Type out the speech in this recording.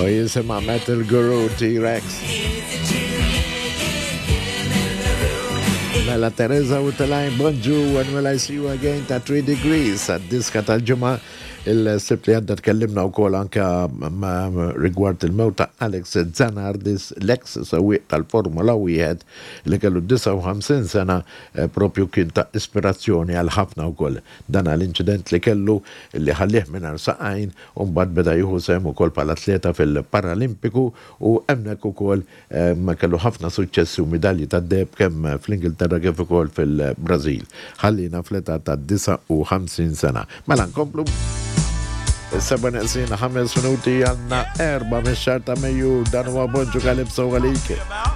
U jisimha Metal Guru T-Rex. Mela Teresa u Telajn, bonġu, when will I see you again ta' 3 Degrees, għad-diska tal-ġimgħa. Il-Sibt li għadda tkellimna wkoll anke rigward il-mewt ta' Alex Zanardis, l-eks sewwieq tal-Formula Wieħed li kellu 59 sena propju kien ta' ispirazzjoni għal ħafna wkoll. Dan għal inċident li kellu li ħallieh mingħajr saqajn u mbagħad beda jieħu sehem ukoll bħala atleta fil-Paralimpiku u hemmhekk ukoll Kellu ħafna suċċessi u midalji tad-deheb kemm fl-Ingilterra kif ukoll fil-Brażil. Ħalliena fl-età ta' 59 sena. Mela nkomplu. Is-seba' neqsin 5 minuti għandna 4 mix-xahar ta' Mejju, dan huwa Bonġu Calypso għalik.